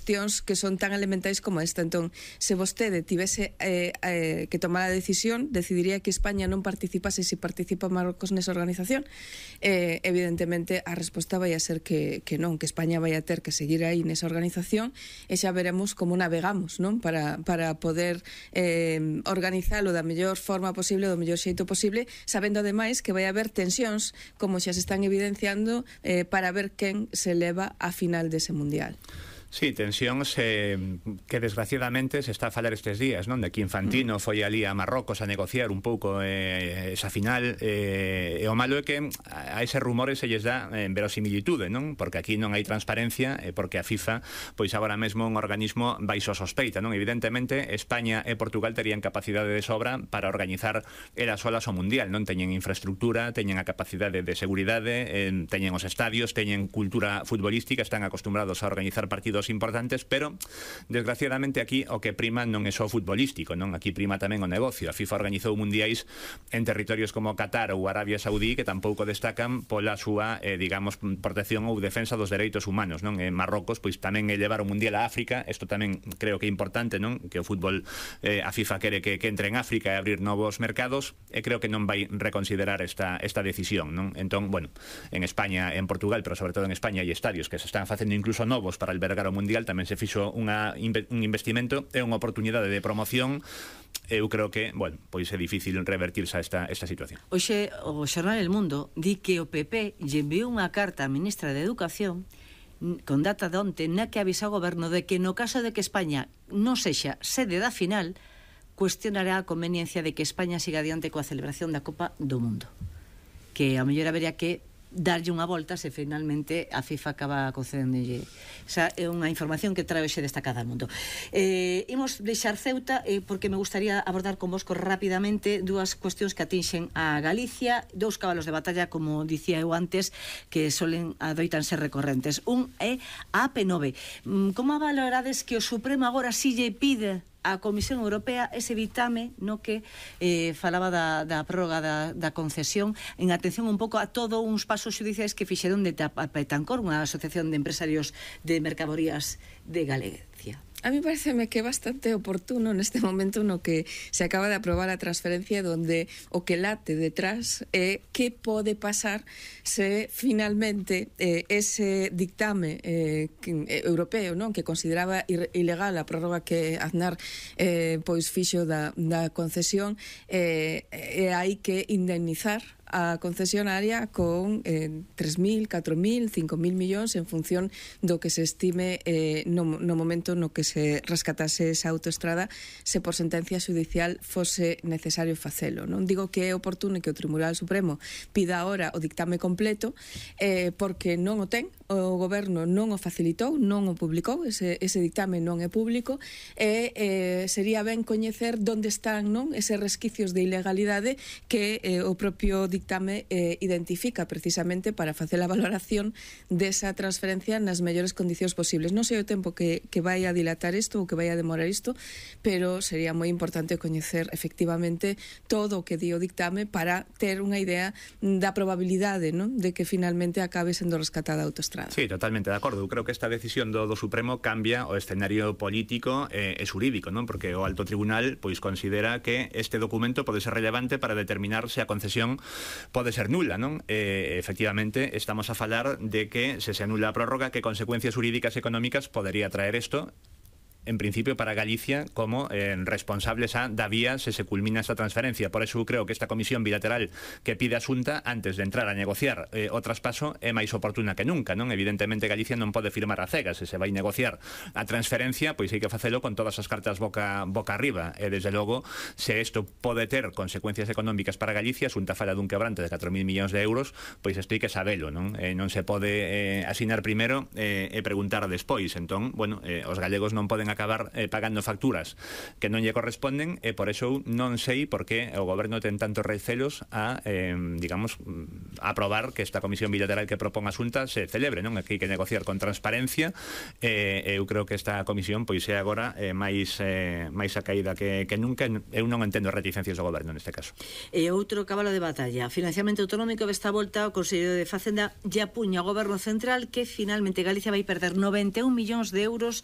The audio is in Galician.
cuestións que son tan elementais como esta. Entón, se vostede tivese que tomar a decisión, decidiría que España non participase se participa Marrocos nesa organización. Evidentemente, a resposta vai a ser que non, que España vai a ter que seguir aí nesa organización e xa veremos como navegamos, non? Para poder organizalo da mellor forma posible, do mellor xeito posible, sabendo ademais que vai haber tensións, como xa se están evidenciando, para ver quen se leva a final dese mundial. Sí, tensións que desgraciadamente se está a falar estes días, non? De que Infantino foi ali a Marrocos a negociar un pouco esa final, e o malo é que a eses rumores se lles dá verosimilitude, non? Porque aquí non hai transparencia, porque a FIFA, pois agora mesmo un organismo baixo sospeita, non? Evidentemente, España e Portugal terían capacidade de sobra para organizar elas solas o Mundial, non? Teñen infraestructura, teñen a capacidade de seguridade, teñen os estadios, teñen cultura futbolística, están acostumbrados a organizar partidos importantes, pero desgraciadamente aquí o que prima non é só futbolístico, non? Aquí prima tamén o negocio. A FIFA organizou mundiais en territorios como Qatar ou Arabia Saudí que tampouco destacan pola súa, digamos, protección ou defensa dos dereitos humanos, non? En Marrocos, pois tamén levar o mundial a África, isto tamén creo que é importante, non? Que o fútbol, a FIFA quere que entre en África e abrir novos mercados, e creo que non vai reconsiderar esta decisión, non? Entón, bueno, en España, en Portugal, pero sobre todo en España hai estadios que se están facendo incluso novos para albergar o Mundial, tamén se fixo un investimento e unha oportunidade de promoción. Eu creo que, bueno, pois é difícil revertirse a esta situación. Oxe, o xornal El Mundo di que o PP lle enviou unha carta á ministra de Educación con data de onte na que avisa ao goberno de que no caso de que España non sexa sede da final, cuestionará a conveniencia de que España siga adiante coa celebración da Copa do Mundo, que a mellor habería que darlle unha volta se finalmente a FIFA acaba concedéndolle. Esa é unha información que trae hoxe destacada ao mundo. Imos deixar Ceuta porque me gustaría abordar con vosco rapidamente dúas cuestións que atinxen a Galicia, dous cabalos de batalla, como dicía eu antes, que adoitan ser recorrentes. Un é a AP9. Como valorades que o Supremo agora si lle pide a Comisión Europea ese ditame no que falaba da prórroga da concesión, en atención un pouco a todos uns pasos xudiciais que fixeron de Petancor, unha asociación de empresarios de mercadorías de Galicia? A mí pareceme que é bastante oportuno neste momento no que se acaba de aprobar a transferencia, donde o que late detrás é que pode pasar se finalmente ese dictame europeo, non, que consideraba ilegal a prórroga que Aznar pois fixo da concesión, hai que indemnizar a concesionaria con 3.000, 4.000, 5.000 millóns en función do que se estime no momento no que se rescatase esa autoestrada, se por sentencia judicial fose necesario facelo. Non digo que é oportuno que o Tribunal Supremo pida ahora o dictame completo, porque non o ten, o goberno non o facilitou, non o publicou, ese dictame non é público, e sería ben coñecer onde están, non, eses resquicios de ilegalidade que o propio dictame identifica precisamente para facer a valoración desa transferencia nas mellores condicións posibles. Non sei o tempo que vai a dilatar isto ou que vai a demorar isto, pero sería moi importante coñecer efectivamente todo o que di o dictame para ter unha idea da probabilidade, non, de que finalmente acabe sendo rescatada a autoestrada. Sí, totalmente de acordo. Eu creo que esta decisión do Supremo cambia o escenario político e xurídico, non? Porque o Alto Tribunal pois considera que este documento pode ser relevante para determinar se a concesión pode ser nula, non? Efectivamente, estamos a falar de que se anula a prórroga, que consecuencias jurídicas e económicas podería traer isto, en principio para Galicia como responsables da vía se culmina esta transferencia. Por eso creo que esta comisión bilateral que pide a Xunta antes de entrar a negociar o traspaso é máis oportuna que nunca, non? Evidentemente Galicia non pode firmar a cegas, se vai negociar a transferencia, pois hai que facelo con todas as cartas boca arriba, e desde logo se isto pode ter consecuencias económicas para Galicia, Xunta fala dun quebrante de 4.000 millóns de euros, pois isto hai que sabelo, non? Non se pode asinar primeiro e preguntar despois. Entón, bueno, os galegos non poden acabar pagando facturas que non lle corresponden, e por eso non sei por que o goberno ten tantos recelos a, digamos, aprobar que esta comisión bilateral que propón a Xunta se celebre, non? Aquí hai que negociar con transparencia, eu creo que esta comisión pois é agora máis a caída que nunca. Eu non entendo reticencias do goberno neste caso. E outro cabalo de batalla, financiamento autonómico, desta volta o Consello de Facenda lle apuña ao goberno central que finalmente Galicia vai perder 91 millóns de euros